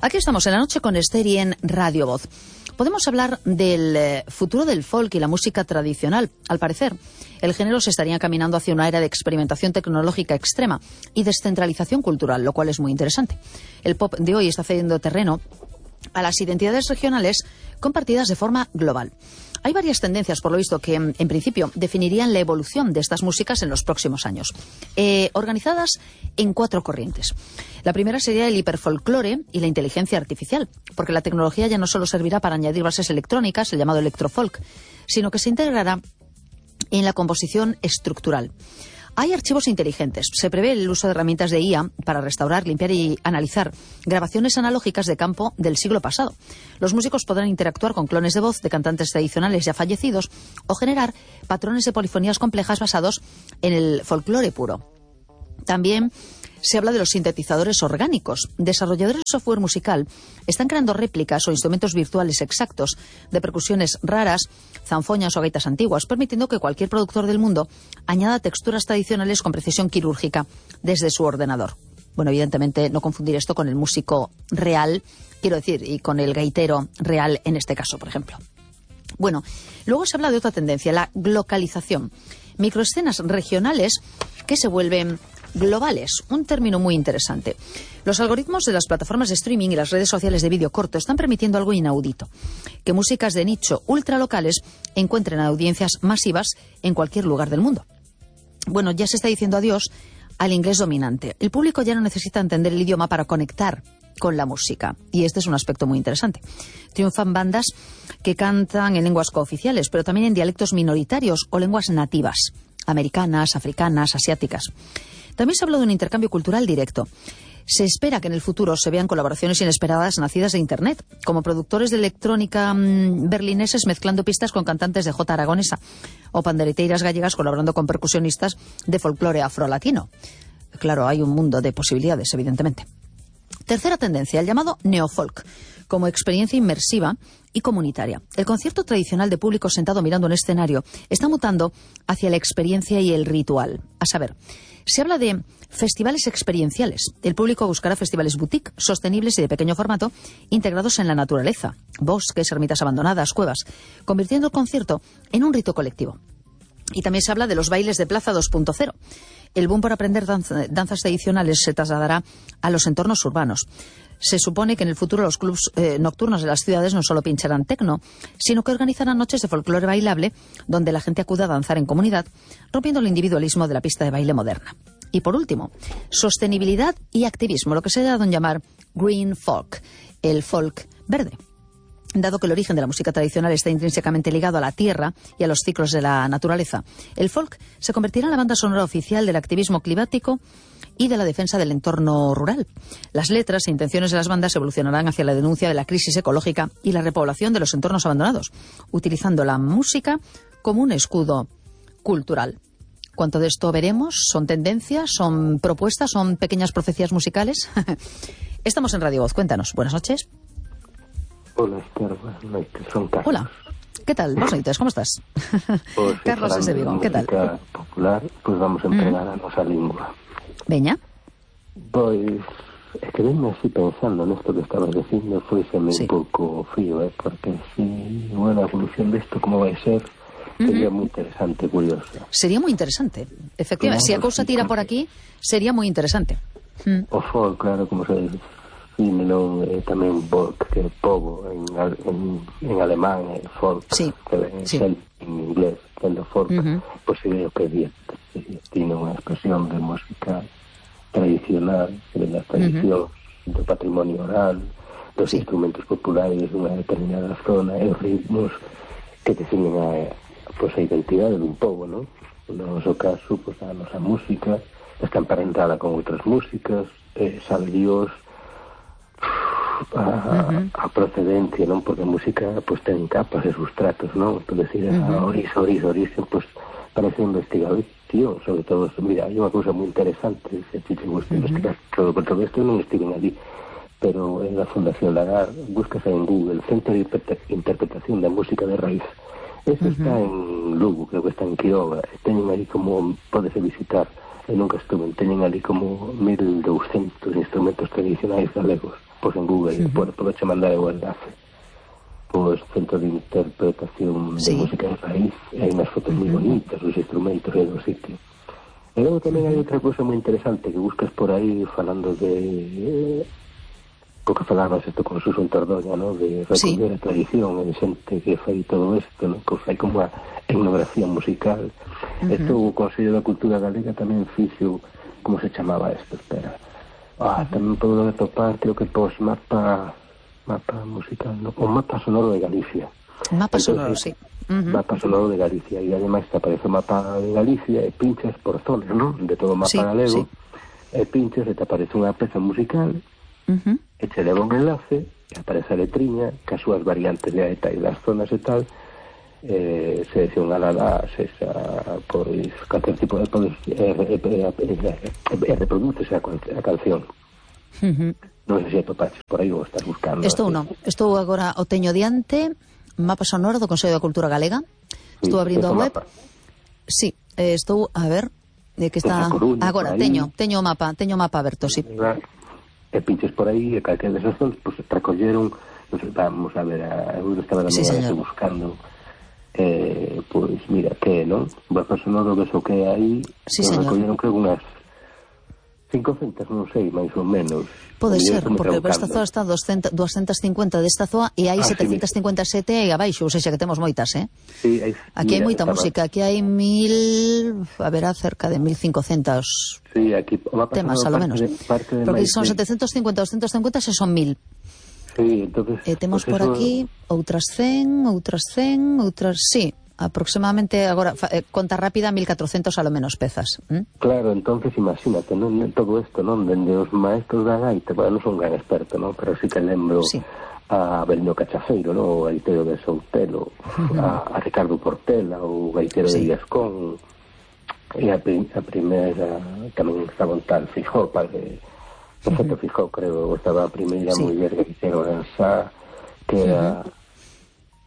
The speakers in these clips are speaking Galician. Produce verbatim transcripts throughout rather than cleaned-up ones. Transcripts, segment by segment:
Aquí estamos en la noche con Esther y en Radio Voz. Podemos hablar del eh, futuro del folk y la música tradicional. Al parecer, el género se estaría caminando hacia una era de experimentación tecnológica extrema y descentralización cultural, lo cual es muy interesante. El pop de hoy está cediendo terreno a las identidades regionales compartidas de forma global. Hay varias tendencias, por lo visto, que en principio definirían la evolución de estas músicas en los próximos años, eh, organizadas en cuatro corrientes. La primera sería el hiperfolclore y la inteligencia artificial, porque la tecnología ya no solo servirá para añadir bases electrónicas, el llamado electrofolk, sino que se integrará en la composición estructural. Hay archivos inteligentes. Se prevé el uso de herramientas de I A para restaurar, limpiar y analizar grabaciones analógicas de campo del siglo pasado. Los músicos podrán interactuar con clones de voz de cantantes tradicionales ya fallecidos o generar patrones de polifonías complejas basados en el folclore puro. También se habla de los sintetizadores orgánicos. Desarrolladores de software musical están creando réplicas o instrumentos virtuales exactos de percusiones raras, zanfoñas o gaitas antiguas, permitiendo que cualquier productor del mundo añada texturas tradicionales con precisión quirúrgica desde su ordenador. Bueno, evidentemente no confundir esto con el músico real, quiero decir, y con el gaitero real en este caso, por ejemplo. Bueno, luego se habla de otra tendencia, la glocalización. Microescenas regionales que se vuelven globales, un término muy interesante. Los algoritmos de las plataformas de streaming y las redes sociales de vídeo corto están permitiendo algo inaudito, que músicas de nicho ultralocales encuentren audiencias masivas en cualquier lugar del mundo. Bueno, ya se está diciendo adiós al inglés dominante. El público ya no necesita entender el idioma para conectar con la música, y este es un aspecto muy interesante. Triunfan bandas que cantan en lenguas cooficiales, pero también en dialectos minoritarios o lenguas nativas, americanas, africanas, asiáticas. También se habla de un intercambio cultural directo. Se espera que en el futuro se vean colaboraciones inesperadas nacidas de Internet, como productores de electrónica mmm, berlineses mezclando pistas con cantantes de jota aragonesa, o pandereteiras gallegas colaborando con percusionistas de folclore afrolatino. Claro, hay un mundo de posibilidades, evidentemente. Tercera tendencia, el llamado neofolk, como experiencia inmersiva y comunitaria. El concierto tradicional de público sentado mirando un escenario está mutando hacia la experiencia y el ritual. A saber, se habla de festivales experienciales. El público buscará festivales boutique, sostenibles y de pequeño formato, integrados en la naturaleza, bosques, ermitas abandonadas, cuevas, convirtiendo el concierto en un rito colectivo. Y también se habla de los bailes de plaza dos punto cero. El boom por aprender danza, danzas tradicionales se trasladará a los entornos urbanos. Se supone que en el futuro los clubs eh, nocturnos de las ciudades no solo pincharán tecno, sino que organizarán noches de folclore bailable donde la gente acuda a danzar en comunidad, rompiendo el individualismo de la pista de baile moderna. Y por último, sostenibilidad y activismo, lo que se ha dado en llamar green folk, el folk verde. Dado que el origen de la música tradicional está intrínsecamente ligado a la tierra y a los ciclos de la naturaleza, el folk se convertirá en la banda sonora oficial del activismo climático y de la defensa del entorno rural. Las letras e intenciones de las bandas evolucionarán hacia la denuncia de la crisis ecológica y la repoblación de los entornos abandonados, utilizando la música como un escudo cultural. ¿Cuánto de esto veremos? ¿Son tendencias? ¿Son propuestas? ¿Son pequeñas profecías musicales? Estamos en Radio Voz. Cuéntanos. Buenas noches. Hola, Esther. Buenas noches. Son Carlos. Hola. ¿Qué tal? Buenas noches. ¿Cómo estás? Pues, Carlos es de Vigo. ¿Qué tal? Popular, pues vamos a entregar mm. a nosa lingua. Veña. Pois, é que venme así pensando nesto que estabas dicindo, foiseme sí. un pouco frío, eh? Porque si, bueno, a evolución desto como vai ser, sería uh-huh. moi interesante, curiosa. Sería moi interesante, efectivamente. Claro, se si a cousa tira por aquí, sería moi interesante. Mm. O folk, claro, como se dice, non, eh, tamén folk, que é povo, en, en, en alemán, é folk, sí. que é sí. en inglés, sendo folk, uh-huh. pois pues, é o que tiene unha expresión de música tradicional, de las tradicións, uh-huh. do patrimonio oral, dos sí. instrumentos populares dunha determinada zona, e os ritmos que definen a, pues, a identidade dun povo, non? No noso caso, pues, a nosa música está emparentada con outras músicas, eh, sabe Dios a, uh-huh. a procedencia, non? Porque a música pues, ten capas e sustratos, non? Por decir, uh-huh. a orixe, orixe, orixe, pues, parece investigación, sobre todo, mira, hai unha cousa moi interesante, se te gusta uh-huh. investigar todo, por todo isto non estiven allí, pero en la Fundación Lagar, buscas en Google, Centro de Interpretación da Música de Raíz. Eso uh-huh. está en Lugo, creo que está en Quiroga, teñen aí como, podese visitar e nunca estuve. Teñen ali como mil douscentos instrumentos tradicionais galegos. Pois en Google, uh-huh. por, por che mandar o enlace. Pois centro de interpretación sí. de música de raíz, e hai unhas fotos uh-huh. moi bonitas, os instrumentos e do sitio. E logo tamén hai outra cousa moi interesante que buscas por aí falando de... Eh, o que falabas isto con Suso Tordoña, ¿no? De recoller sí. a tradición, e de xente que fai todo isto, ¿no? Que fai como a etnografía musical. Uh-huh. Isto o Consello da Cultura Galega tamén fixo, como se chamaba isto, espera. Ah, uh-huh. tamén podo atopar, creo que pos mapa mapa musical, ¿no? O mapa sonoro de Galicia. Mapa Entonces, sonoro, sí. Uh-huh. Mapa sonoro de Galicia, e ademais te aparece o mapa de Galicia e pinchas por zonas, ¿no? De todo o mapa sí, galego, sí. e pinchas e te aparece unha peza musical. Uh-huh. E te leva un enlace e aparece a letriña que as súas variantes de eta e das zonas e tal eh, seleccionada esa pois calquer tipo de podes e, e, e, e reproduces a, a canción. Uh-huh. Non sei se topaches por aí ou estás buscando. Estou non, estou agora o teño diante, mapa sonoro do Consello da Cultura Galega. Estou sí, abrindo a web. Mapa. Sí, eh, estou a ver de que está Coruña, agora teño, teño o mapa, teño o mapa aberto, sí. E pinches por aí, e calquera desas zonas, pues, recolleron, no sei, vamos a ver, a eu estaba sí, buscando, eh, pois, pues, mira, que, non? Vai pasando do que so que hai, sí, recolleron, creo, unhas cincocentas, non sei, máis ou menos. Pode ser, porque esta zona está doscientas cincuenta desta zoa e hai ah, setecientas cincuenta e sete aí abaixo, ou seja, que temos moitas, eh? Sí, hai, aquí mira, hai moita música, aquí hai mil, haberá cerca de mil cincocentos sí, aquí, temas, a lo menos. De, porque son de... setecientos cincuenta, doscientos cincuenta, se son mil. Sí, entonces... E temos pues por eso... aquí outras cen, outras cen, outras... Sí, aproximadamente, agora, eh, conta rápida, mil catrocentos a lo menos pezas. ¿Mm? Claro, entonces imagínate, non, todo isto, non? Dende os maestros da gaita, bueno, non son gran experto, non? Pero sí que lembro sí. a Belino Cachafeiro, non? O gaitero de Soutelo, uh-huh. a, a Ricardo Portela, o gaitero sí. de Viascón, e a, a primeira, tamén estaba un tal Fijó, padre, Perfecto uh-huh. Fijó, creo, estaba a primeira sí. muller que fixeron en Sá, que era... Uh-huh.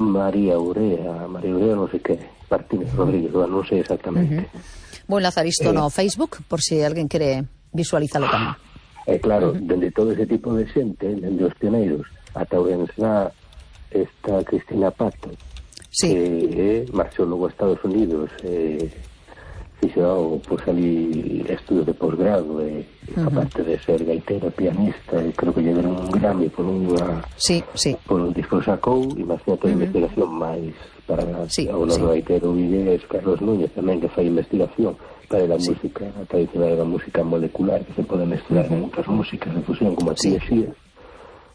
María Urea, María Urea non sei que, Martínez Rodríguez, non sei exactamente. Uh-huh. Vou enlazar isto eh, no Facebook, por si alguén quere visualizalo tamén. Eh, claro, uh-huh. dende todo ese tipo de xente, dende os pioneiros, ata Ourensá está Cristina Pato, sí. que eh, marchou logo a Estados Unidos, eh, fixo pues, ali estudos de posgrado, e uh-huh. aparte de ser gaitera, pianista, e creo que lle deron un Grammy por unha sí, sí. por un disco sacou, imagínate uh-huh. investigación máis para sí, o noso sí. gaitero Vigués, Carlos Núñez tamén, que fai investigación para a sí. música a tradicional da música molecular, que se pode mesturar uh-huh. con outras músicas de fusión como a sí. Tiesía,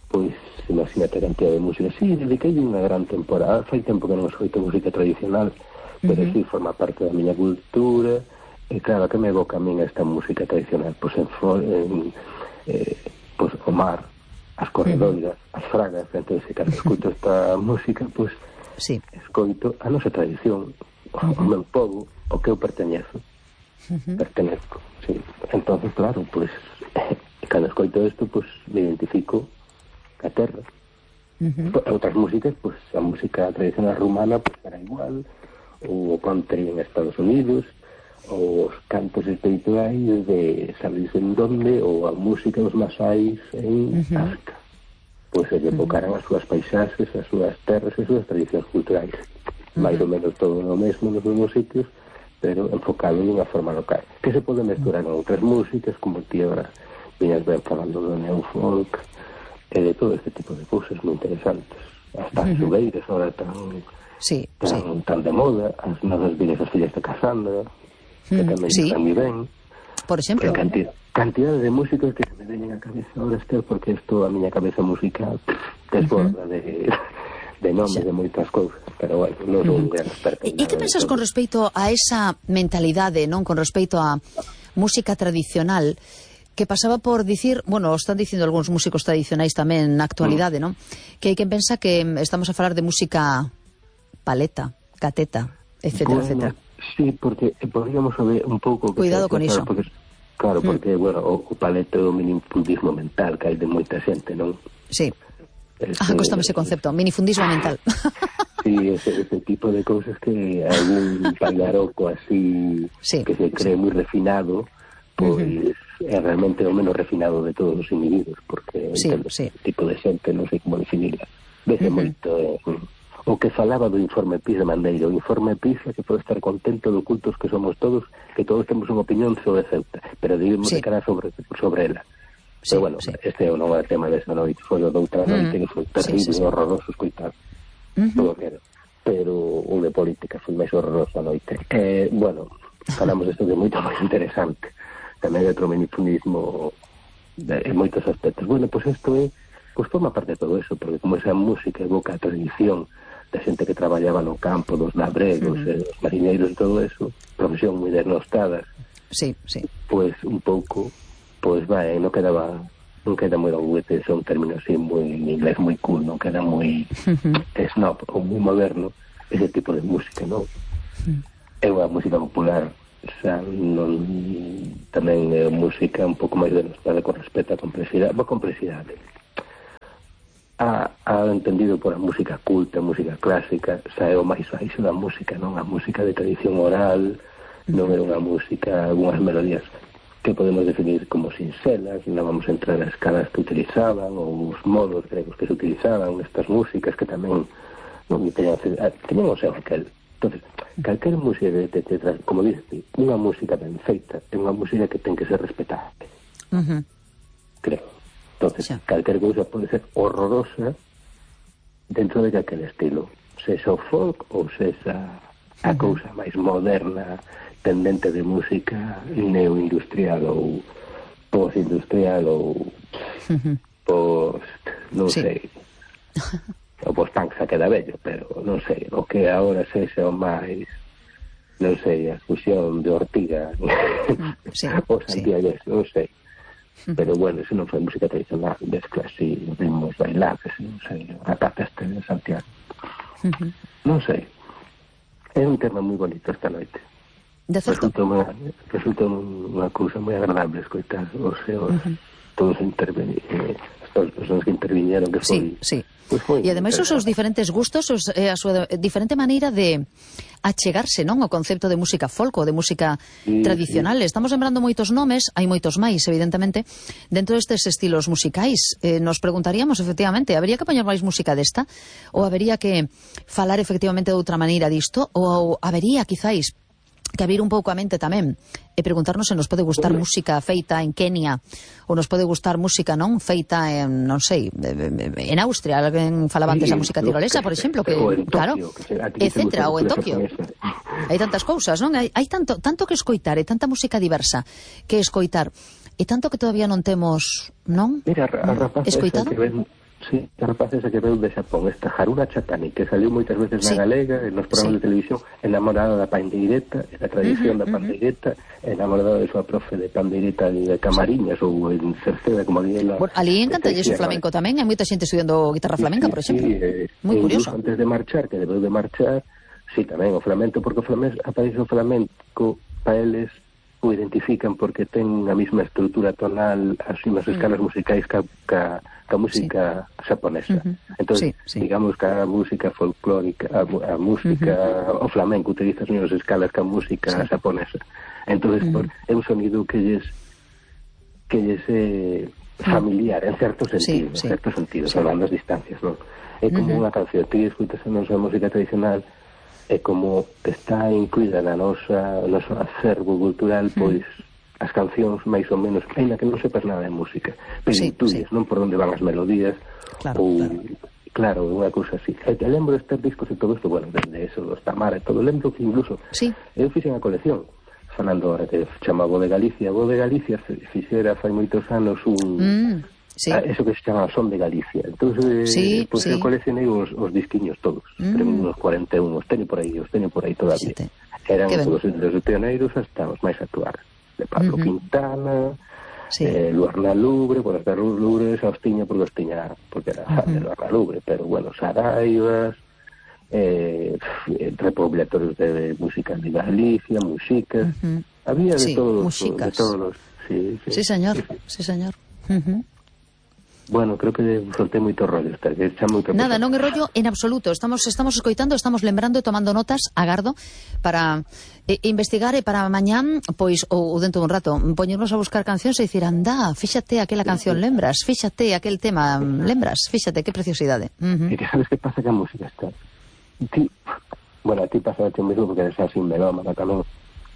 pois imagínate a cantidad de música. Sí, dediquei unha gran temporada, fai tempo que non escoito música tradicional, pero uh-huh. sí, forma parte da miña cultura, e claro, que me evoca a min esta música tradicional, pois en, en eh, pois, o mar, as corredoiras, uh-huh. as fragas, entonces, cando escoito esta música, pois, sí. escoito a nosa tradición, uh-huh. o meu povo, o que eu perteñezo, uh-huh. pertenezco, sí. Entonces, claro, pois, cando escoito isto, pois, me identifico ca terra. Uh-huh. Outras músicas, pois, a música tradicional rumana, pois, era igual, o country en Estados Unidos, os cantos espirituais de sabes en donde, ou a música dos masais en uh-huh. África. Pois se evocaran uh-huh. as súas paisaxes, as súas terras e as súas tradicións culturais. Uh-huh. Mais ou menos todo o mesmo nos mesmos sitios, pero enfocado en unha forma local. Que se pode mesturar con outras músicas, como ti agora viñas ben falando do neofolk, e de todo este tipo de cousas moi interesantes. Hasta uh-huh. as xubeiras agora tan... Sí, tan, sí. tan de moda, as novas vidas as fillas de Casandra, que mm, tamén sí. están moi ben. Por exemplo. Cantidad, cantidad de músicos que se me veñen a cabeza ahora, Esther, porque isto a miña cabeza musical desborda uh-huh. de, de nomes de moitas cousas, pero bueno, non son uh-huh. un gran experto. E que pensas con respecto a esa mentalidade, non, con respecto a música tradicional, que pasaba por dicir, bueno, están dicindo algúns músicos tradicionais tamén na actualidade, mm. non? Que hai quen pensa que estamos a falar de música paleta, cateta, etcétera, bueno, etcétera. Sí, porque podríamos saber un pouco... Cuidado con iso. Porque, claro, porque, mm. bueno, o, o paleta é o minifundismo mental que hai de moita xente, non? Sí. Ese, ah, costame ese concepto, minifundismo mental. Sí, ese, ese tipo de cousas que algún pallaroco así, sí, que se cree sí. moi refinado, pois uh-huh. é realmente o menos refinado de todos os individuos, porque sí, entendo, sí. tipo de xente non sei como definirla. Vese uh-huh. moito eh, o que falaba do informe PISA de Mandeiro, o informe PISA que pode estar contento de ocultos que somos todos, que todos temos unha opinión sobre Ceuta, pero debemos sí. de cara sobre, sobre ela. Sí, pero bueno, sí. este non é o tema desa noite, foi o doutra noite, uh-huh. que foi terrible, sí, sí, sí. horroroso escoitar. Uh-huh. Todo que era. Pero o de política foi máis horroroso a noite. Eh, bueno, falamos isto de moito máis interesante. Tamén de outro minifundismo en moitos aspectos. Bueno, pois pues isto é, pois pues forma parte de todo eso, porque como esa música evoca a tradición da xente que traballaba no campo, dos labregos, uh-huh. eh, os mariñeiros e todo eso, profesión moi denostadas. Sí, sí. Pois pues, un pouco, pois pues, vai, non quedaba, non queda moi doguete, son términos así moi en inglés moi cool, non queda moi uh-huh. snob ou moi moderno ese tipo de música, non? Uh-huh. É unha música popular, xa non tamén é música un pouco máis denostada con respecto á complexidade, a complexidade. A, a entendido por a música culta, a música clásica, xa é o máis baixo da música, non? A música de tradición oral, non é unha música, algunhas melodías que podemos definir como sinxelas, non vamos a entrar as escalas que utilizaban ou os modos gregos que se utilizaban nestas músicas que tamén non teñan, teñan o seu aquel. Entonces, calquera música que te, te, te como dices, unha música ben feita é unha música que ten que ser respetable. Uh-huh. Creo. Entonces, sí. calquera cousa pode ser horrorosa dentro de calquer estilo, sexa o folk ou sexa a uh-huh. cousa máis moderna, tendente de música neoindustrial ou postindustrial ou uh-huh. post, non sí. sei, o post-punk xa queda bello, pero non sei, o que agora sexa o máis, non sei, a fusión de Ortiga sí. ou Santiago, sí. non sei. Pero bueno, eso non foi música tradicional, mezcla así, ritmos bailables, non sei, a pata este de Santiago. Uh-huh. Non sei. É un tema moi bonito esta noite. De certo. Resulta unha, resulta unha cousa moi agradable escoitar os seus, uh-huh. todos intervenir, eh, as persoas que interviñeron, que foi... Sí, sí. Pues e ademais os seus diferentes gustos, os, eh, a súa diferente maneira de achegarse, non, ao concepto de música folk ou de música sí, tradicional. Sí. Estamos lembrando moitos nomes, hai moitos máis, evidentemente, dentro destes estilos musicais. Eh, nos preguntaríamos, efectivamente, habería que poñer máis música desta? Ou habería que falar efectivamente de outra maneira disto? Ou habería, quizáis, que abrir un pouco a mente tamén e preguntarnos se nos pode gustar música feita en Kenia ou nos pode gustar música non feita en, non sei, en Austria, alguén falaba antes da música tirolesa, por exemplo, que, claro, etcétera, ou en Tokio. Hai tantas cousas, non? Hai, hai tanto, tanto que escoitar, e tanta música diversa que escoitar, e tanto que todavía non temos, non? Mira, a rapaz escoitado? Sí, a rapaz esa que veu de Xapón, esta Haruna Chatani, que saliu moitas veces sí. na galega, nos programas sí. de televisión, enamorada da pandeireta, da tradición uh-huh, da pandeireta, uh-huh. enamorada de súa profe de pandeireta de Camariñas, sí. ou en Cerceda, como ali ela... Bueno, ali encantalle o flamenco tamén, hai moita xente estudiando guitarra flamenca, sí, por exemplo. Sí, eh, moi curioso. Antes de marchar, que debeu de marchar, sí, tamén o flamenco, porque o flamenco, aparece o flamenco, para eles o identifican porque ten a mesma estrutura tonal, as mesmas escalas mm. musicais ca, ca, ca música sí. xaponesa. Uh-huh. Entón, sí, sí. digamos que a música folclórica, a, a música, uh-huh. o flamenco utiliza as mesmas escalas que a música sí. xaponesa. Entón, uh-huh. por, é un sonido que lles que lles é familiar, en certo sentido, sí, sí. en certo sentido, sí. salvando as distancias, non? É como uh-huh. unha canción, ti escutas a nosa música tradicional, é como está incluída na nosa noso acervo cultural, pois mm. as cancións máis ou menos, ainda que non sepas nada de música, pero sí, intuyes, sí. non por onde van as melodías, claro, ou claro, claro, unha cousa así. E te lembro estes discos e todo isto, bueno, desde eso, dos Tamara e todo, lembro que incluso sí. eu fixen a colección, falando ahora que chama Voz de Galicia, Voz de Galicia fixera fai moitos anos un... Mm. Sí. Ah, eso que se chama Son de Galicia. Entonces, sí, pues sí. eu coleccionei os, os disquiños todos. Mm. Creo unos cuarenta e un, os teño por aí, os teño por aí todavía. Sí, eran todos os pioneiros hasta os máis actuales. De Pablo uh-huh. Quintana, sí. eh, Luarna Lubre, por as Lubre, xa os tiña porque os tiña, porque era uh-huh. de Luarna Lubre, pero bueno, Saraivas, eh, recopilatorios de, de música de Galicia, músicas, uh-huh. había de sí, todos, músicas. de todos los... Sí, sí sí, señor, sí, sí, sí señor. Uh-huh. Bueno, creo que soltei moito rollo. Está, xa moito Nada, non é rollo en absoluto. Estamos estamos escoitando, estamos lembrando e tomando notas, agardo, para eh, investigar e para mañán, pois, ou, ou dentro dun rato, poñernos a buscar cancións e dicir, anda, fíxate aquela canción, lembras? Fíxate aquel tema, lembras? Fíxate, que preciosidade. Uh -huh. E que sabes que pasa que a música está... Ti, bueno, a ti pasa o mesmo porque eres así melómana tamén.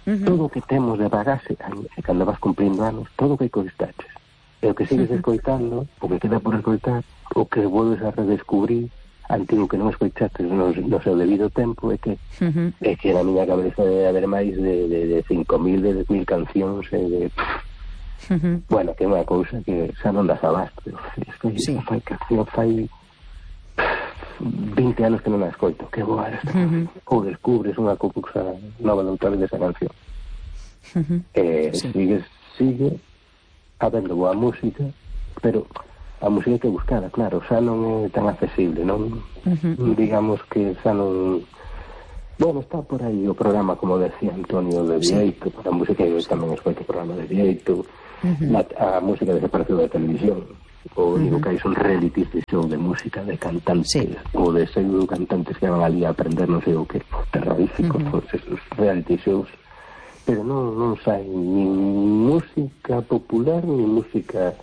Uh -huh. Todo o que temos de bagaxe, e cando vas cumprindo anos, todo o que coistaches. E o que sigues escoitando, o que queda por escoitar, o que volves a redescubrir, antigo que non escoitaste no, no seu debido tempo, é que uh -huh. é que na miña cabeza debe haber máis de, de, de cinco mil, de dez mil cancións, e de... Uh -huh. Bueno, que é unha cousa que xa non das abasto. Estoy, sí. Fai canción, fai vinte anos que non a escoito. Que boa esta. Uh -huh. Ou descubres unha cousa nova de outra vez desa canción. Uh -huh. E sí. sigues, sigue... habendo boa música, pero a música hai que buscada, claro, xa non é tan accesible, non? Uh -huh. Digamos que xa non... Bueno, está por aí o programa, como decía Antonio, de Vieito, sí. Para a música, eu tamén escoito o programa de Vieito, uh -huh. a, a música desapareceu da televisión, o único uh -huh. que hai son realities de show de música, de cantantes, sí. Ou de pseudo cantantes que van ali a aprender non sei o que, terroríficos, uh -huh. esos reality shows, pero non, non sai ni música popular ni música,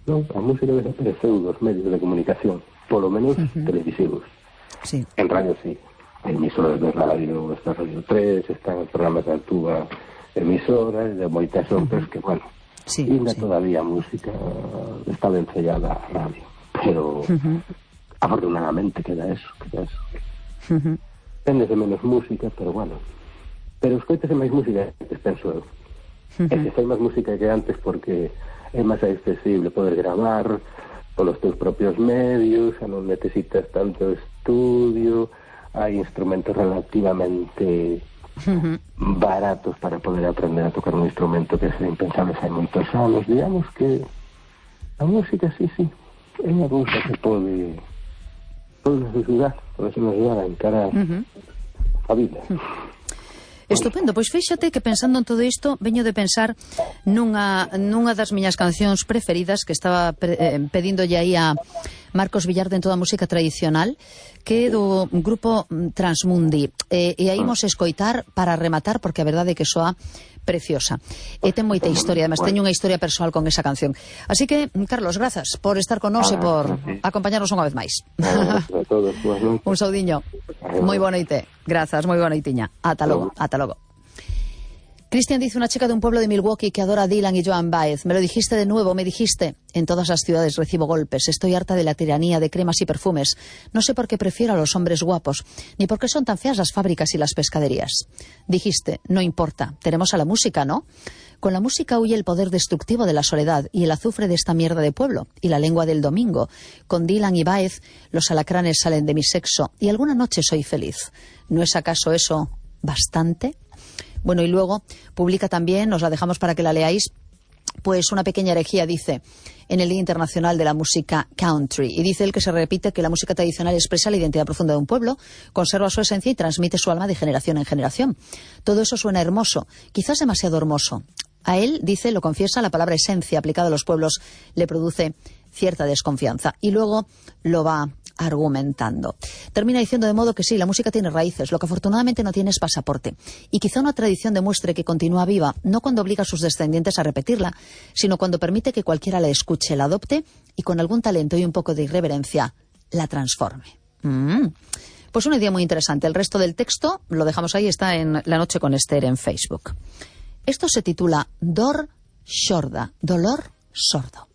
non, a música desapareceu dos medios de comunicación, polo menos uh -huh. televisivos. Sí. En radio sí, hai emisoras de radio, está Radio tres, están programas de Altúa, emisoras de moitas outras uh -huh. que, bueno, sí, ainda sí. Todavía a música está vencellada a radio, pero uh -huh. afortunadamente queda eso, queda eso. Uh -huh. Tende de menos música, pero bueno, pero escoitase máis música que antes, penso eu. Uh -huh. E se fai máis música que antes porque é máis accesible poder gravar polos teus propios medios, xa non necesitas tanto estudio, hai instrumentos relativamente uh -huh. baratos para poder aprender a tocar un instrumento que sería impensable hai moitos anos. Digamos que a música, sí, sí, é unha cousa que pode pode nos ajudar, pode nos ajudar a encarar uh -huh. a vida. Uh -huh. Estupendo, pois fíxate que pensando en todo isto veño de pensar nunha, nunha das miñas cancións preferidas que estaba pre, eh, pedíndolle aí a Marcos Villar dentro da música tradicional, que é do grupo Transmundi, e, e aí imos escoitar para rematar, porque a verdade é que soa preciosa e ten moita historia, además teño unha historia persoal con esa canción. Así que, Carlos, grazas por estar con nós e por acompañarnos unha vez máis. Un saudiño. Moi boa noite. Grazas, moi boa noitiña. Ata logo, ata logo. Cristian dice, una chica de un pueblo de Milwaukee que adora a Dylan y Joan Baez. Me lo dijiste de nuevo, me dijiste. En todas las ciudades recibo golpes. Estoy harta de la tiranía de cremas y perfumes. No sé por qué prefiero a los hombres guapos, ni por qué son tan feas las fábricas y las pescaderías. Dijiste, no importa, tenemos a la música, ¿no? Con la música huye el poder destructivo de la soledad y el azufre de esta mierda de pueblo y la lengua del domingo. Con Dylan y Baez los alacranes salen de mi sexo y alguna noche soy feliz. ¿No es acaso eso bastante? Bueno, y luego publica también, os la dejamos para que la leáis, pues una pequeña herejía, dice, en el Día Internacional de la Música Country. Y dice él que se repite que la música tradicional expresa la identidad profunda de un pueblo, conserva su esencia y transmite su alma de generación en generación. Todo eso suena hermoso, quizás demasiado hermoso. A él, dice, lo confiesa, la palabra esencia aplicada a los pueblos le produce cierta desconfianza. Y luego lo va argumentando. Termina diciendo de modo que sí, la música tiene raíces, lo que afortunadamente no tiene es pasaporte. Y quizá una tradición demuestre que continúa viva, no cuando obliga a sus descendientes a repetirla, sino cuando permite que cualquiera la escuche, la adopte y con algún talento y un poco de irreverencia la transforme. Mm. Pues una idea muy interesante. El resto del texto lo dejamos ahí, está en La Noche con Esther en Facebook. Esto se titula Dor Sorda, dolor sordo.